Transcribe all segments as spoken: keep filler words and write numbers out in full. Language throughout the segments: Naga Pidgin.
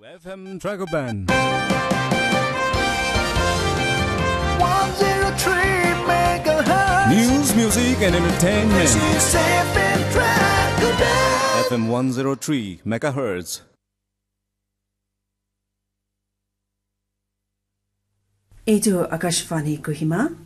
F M Dragon Band. one zero three megahertz. News, music, and entertainment. This is F M Dragon Band. F M one zero three megahertz. Etu Akashvani Kohima.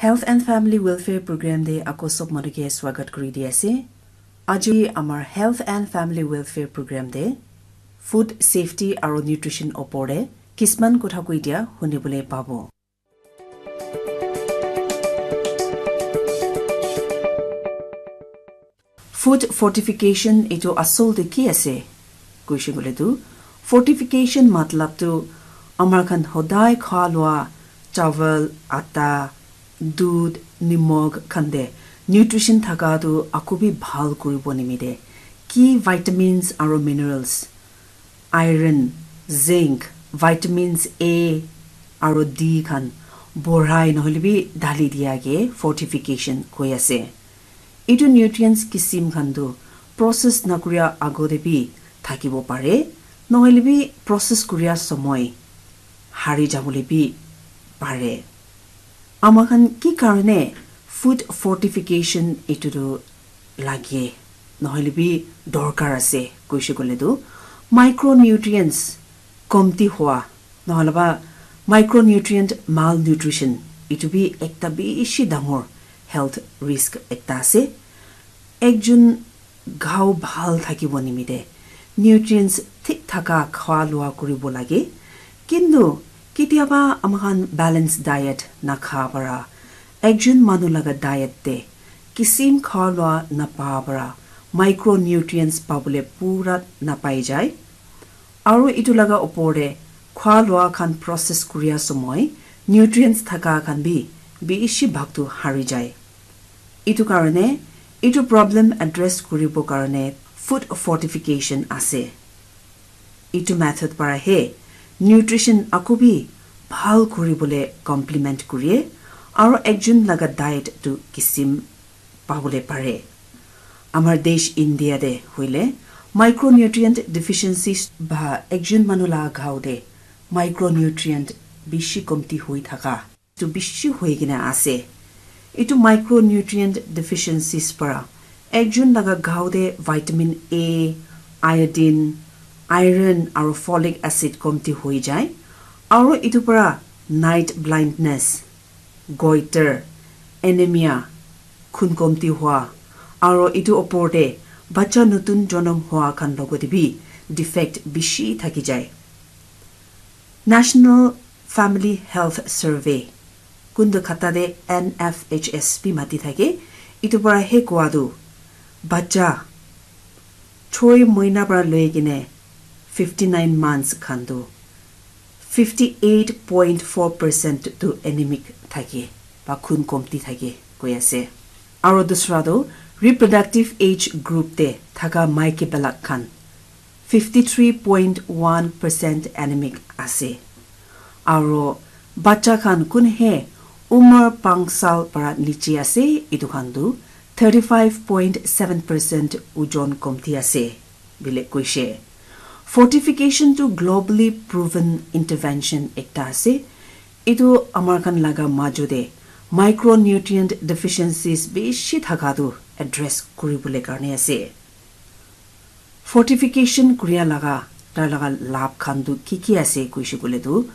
Health and Family Welfare Program te ako sob manu ke swagat kuri di ase. Aji amar Health and Family Welfare Program te food safety aro nutrition opor te kisman kotha koi dia huni bole pabo. Food fortification etu asol te ki ase? Koishe koile tu, fortification matlab tu amar khan hodai kha lua chawal, atta, dudh, nimok khan te nutrition thaka tu aku bi bhal kuribo nimite ki vitamins aro minerals, iron, zinc, vitamins A aro D khan borhai nohole bi dhali dia ke fortification koi ase. Etu nutrients kisim khan tu process nakuria agote bi thakibo pare, nohole bi process kuria somoi hari jabole bi pare. Ama khan ki karne food fortification etu tu lage, nohole bi dorkar ase, koishe koile tu micronutrients komti hua, nohole ba micronutrient malnutrition, etu bi ekta bishi dangor health risk ekta ase. Ekjon ghao bhal thakibo nimite nutrients thik thaka kha lua kuribo lage. Kintu ketiaba ama khan balanced diet nakha para ekjon manu laga diet te kisim kha lua napa para micronutrients pabole pura napai jai. Aru etu laga opor te khwa lua khan process kuria somoi nutrients thaka khan bi bishi bhag tu hari jai. Etu karne etu problem address kuribo karne food fortification ase. Etu method para he nutrition aku bi bhal kuribole complement kurie aru ekjon laga diet tu kisim pabole pare. Amar desh India te hoile micronutrient deficiencies ba ekjon manu la ghao te micronutrient bishi komti hoi thaka tu bishi hoi kena ase. Etu micronutrient deficiencies para ekjon laga ghao te vitamin A, iodine, iron aru folic acid komti hoi jai. Aru etu para night blindness, goiter, anemia, khun komti hua, aro etu opor te bacha nutun jonom hua khan logote bi defect bishi thaki jai. National Family Health Survey, kundu khata te N F H S bi mati thake, etu para he koa tu bacha choi moina para loi kene fifty nine months khan tu fifty eight point four percent tu anemic thake ba khun komti thake koi ase. Aro dusra tu reproductive age group te thaka maiki belak khan fifty three point one percent anemic ase. Aro bacha khan kun he umar panch sal para niche ase, etu khan tu thirty five point seven percent ojon komti ase bile koishe. Fortification tu globally proven intervention ekta ase. Etu amar khan laga majo te micronutrient deficiencies bishi thaka tu address kuribole karne ase. Fortification kuria laga tar laga labh khan tu ki ki ase koishe koile tu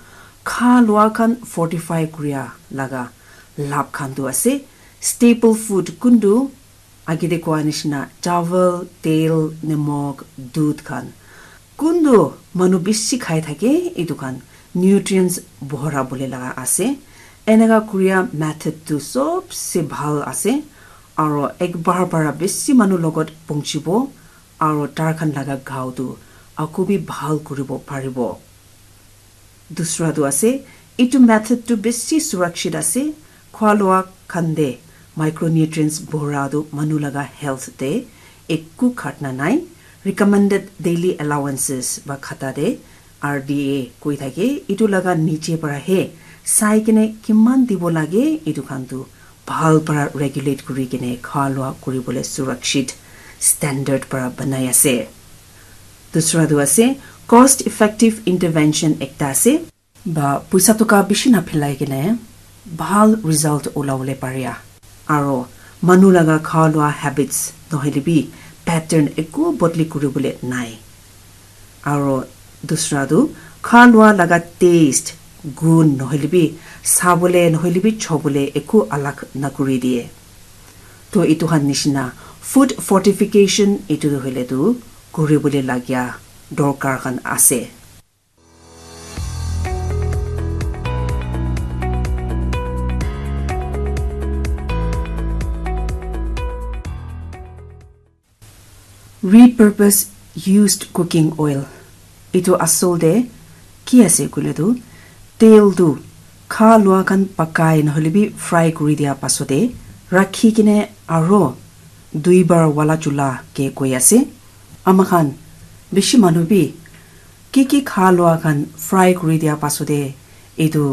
kha lua khan fortify kuria laga labh khan tu ase. Staple food kuntu age te koa nishina chawal, tel, nimok, dudh khan kuntu manu bishi khai thake, etu khan nutrients bhora bole laga ase. Eneka kuria method tu sobse bhal ase, aro ekbar para bishi manu logot pongchibo, aro tar khan laga ghao tu aku bi bhal kuribo paribo. Dusra tu ase, etu method tu bishi surakshit ase. Khwa lua khan te micronutrients bhora tu manu laga health te eku khatna nai. Recommended daily allowances ba khata te R D A koi thake, etu laga niche para he sai kene kiman dibo lage, etu khan tu bhal para regulate kuri kene kha lua kuri bole surakshit standard para banai ase. Dusra tu ase cost effective intervention ekta ase. Ba puisa toka bishi na philai kene bhal result ulawole paria. Aro manu laga kha lua habits nohile bi pattern eku bodli kuribole nai. Aro dusra tu kha lua laga taste, gun nohile bi sabole nohile bi chobole eku alag nakuri diye. To itu khan nishina food fortification itu hoile tu kuribole lagia dorkar khan ase. Repurpose used cooking oil. Itu asol te ki ase koile tu, tel tu kha lua khan pakai nohole bi fry kuri dia pasode rakhi kene aro duibar wala chula ke koi ase. Ama khan bishi manu bi ki ki kha lua khan fry kuri dia pasode itu